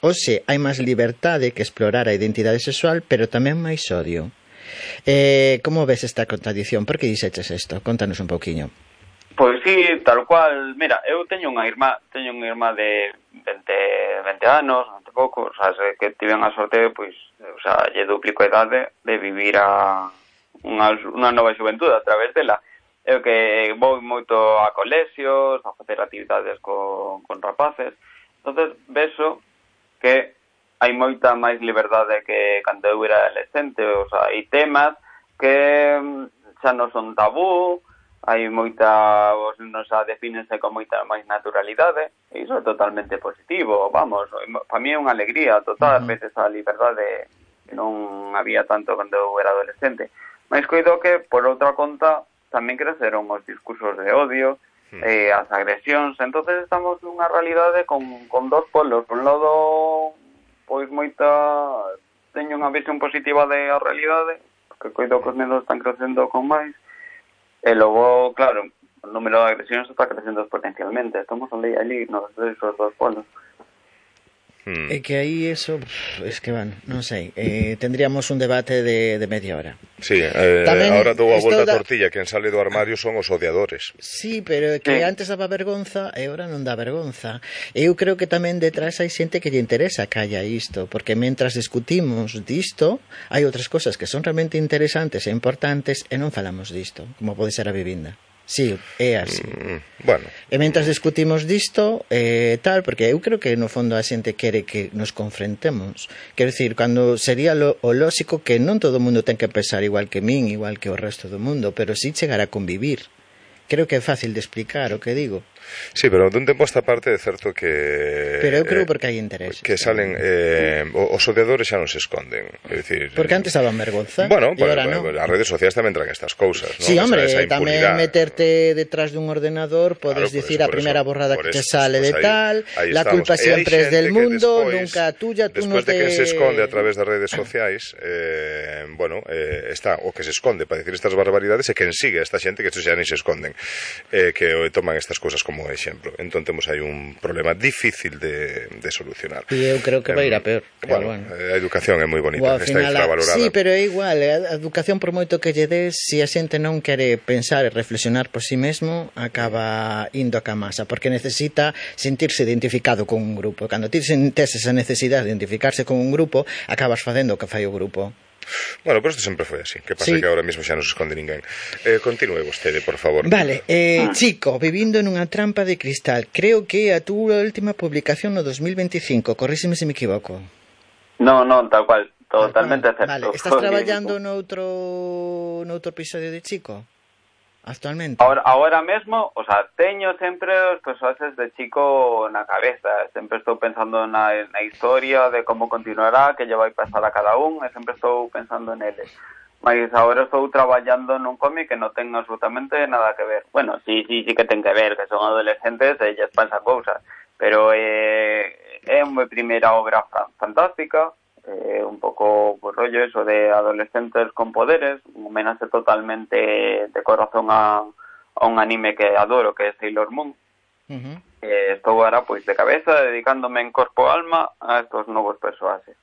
Hoxe hai máis liberdade que explorar a identidade sexual, pero tamén máis odio. Como ves esta contradición? Por que dixeches isto? Contanos un pouquiño. Pois sí, tal cual. Mira, eu teño unha irmá de 20 anos, ante pouco, o sea, que tiven a sorte, pois, o sea, lle duplico a idade de vivir unha nova xuventude a través dela. Eu que vou moito a colexios, a facer actividades con rapaces, entonces veso que hai moita máis liberdade que cando eu era adolescente, o sea, hai temas que xa non son tabú, hai moita, non xa defínense con moita máis naturalidade, e iso é totalmente positivo, vamos, para mí é unha alegría total, veces a liberdade que non había tanto cando eu era adolescente. Mas coido que, por outra conta, tamén creceron os discursos de odio, as agresións, entonces estamos nunha realidade con dos polos. Por un lado, pois teño unha visión positiva da realidade, que coido que os nenos están crecendo con máis, e logo, claro, o número de agresións está crecendo exponencialmente. Estamos ali nos dos polos. É que aí eso, es que non sei, tendríamos un debate de media hora. Sí, ahora dou a volta a tortilla, quen sale do armario son os odiadores. Sí, pero que antes daba vergonza e agora non dá vergonza. Eu creo que tamén detrás hai xente que lle interesa que haya isto, porque mentras discutimos disto, hai outras cosas que son realmente interesantes e importantes e non falamos disto, como pode ser a vivinda. Sí, é así. Bueno. E mentras discutimos disto, tal, porque eu creo que no fondo a xente quere que nos confrontemos. Quero dicir, cando sería o lóxico que non todo o mundo ten que pensar igual que min, igual que o resto do mundo, pero sí chegar a convivir. Creo que é fácil de explicar o que digo. Sí, pero dun tempo a esta parte é certo que... Pero eu creo porque hai interés. Que salen... os odiadores xa non se esconden. É dicir, porque antes daban vergonza. Bueno, as redes sociais tamén traen estas cousas, ¿no? Sí, hombre, tamén meterte detrás dun ordenador, podes dicir a primeira borrada que te sale de tal, la culpa sempre es del mundo, nunca tuya, tú non te... Despois de que se esconde a través das redes sociais, está o que se esconde para dicir estas barbaridades e quen sigue a esta xente que estos xa nem se esconden, que toman estas cousas como exemplo. Entón temos aí un problema difícil de solucionar. E eu creo que vai ir a peor. Bueno, a educación é moi bonita, está infravalorada. Sí, pero é igual, a educación por moito que lle des, se a xente non quere pensar e reflexionar por si mesmo, acaba indo a camasa, porque necesita sentirse identificado con un grupo. Cando ti sentes esa necesidade de identificarse con un grupo, acabas facendo o que fai o grupo. Bueno, pero isto sempre foi así. Que pasa que ahora mesmo xa non se esconde ninguén. Continúe vostede, por favor. Vale, Chico, vivindo nunha trampa de cristal. Creo que a túa última publicación no 2025. Corríseme se me equivoco. Non, tal cual. Totalmente certo. Vale, estás traballando noutro episodio de Chico? Actualmente? Ahora mesmo, o sea, teño sempre os personaxes de Chico na cabeza. Sempre estou pensando na historia de como continuará, que lle vai pasar a cada un, e sempre estou pensando neles. Mas agora estou traballando nun cómic que non ten absolutamente nada que ver. Bueno, sí que ten que ver, que son adolescentes e lles pasan cousas. Pero é unha primeira obra fantástica, un pouco pues, rollo eso de adolescentes con poderes, un homenaxe totalmente de corazón a un anime que adoro, que é Sailor Moon. Estou agora pois de cabeza dedicándome en corpo e alma a estos novos persoaxes.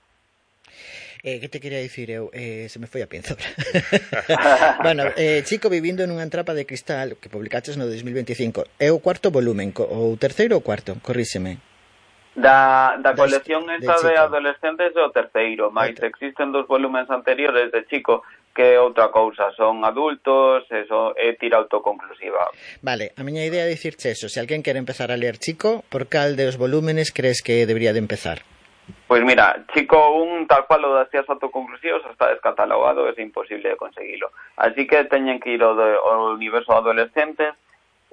Que te quería dicir eu? Se me foi a pinza. Bueno, Chico vivindo nunha trampa de cristal que publicaches no 2025. É o cuarto volumen, o terceiro ou cuarto? Corríxeme. Da colección esta de adolescentes é o terceiro, mas existen 2 volúmenes anteriores de Chico que é outra cousa, son adultos, eso é tira autoconclusiva. Vale, a miña idea é dicirche eso, se alguén quere empezar a ler Chico, por cal de os volúmenes crees que debería de empezar? Pois mira, Chico 1, tal cual o das tías autoconclusivos está descatalogado, é imposible de conseguilo. Así que teñen que ir ao universo adolescentes,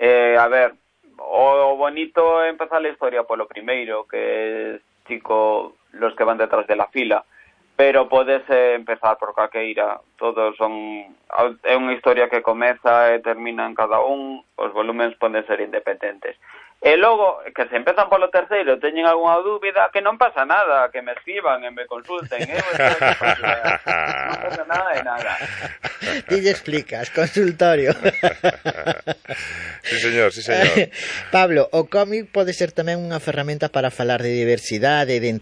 a ver, o bonito é empezar a historia polo primeiro, que é Chico, los que van detrás de la fila, pero podes empezar por calqueira, todos son... É unha historia que comeza e termina en cada un, os volúmenes poden ser independentes. E logo, que se empezan polo terceiro, teñen algunha dúbida, que non pasa nada, que me escriban e me consulten, non pasa nada de nada. Ti lle explicas, consultorio. Sí, señor. Pablo, o cómic pode ser tamén unha ferramenta para falar de diversidade, identidade,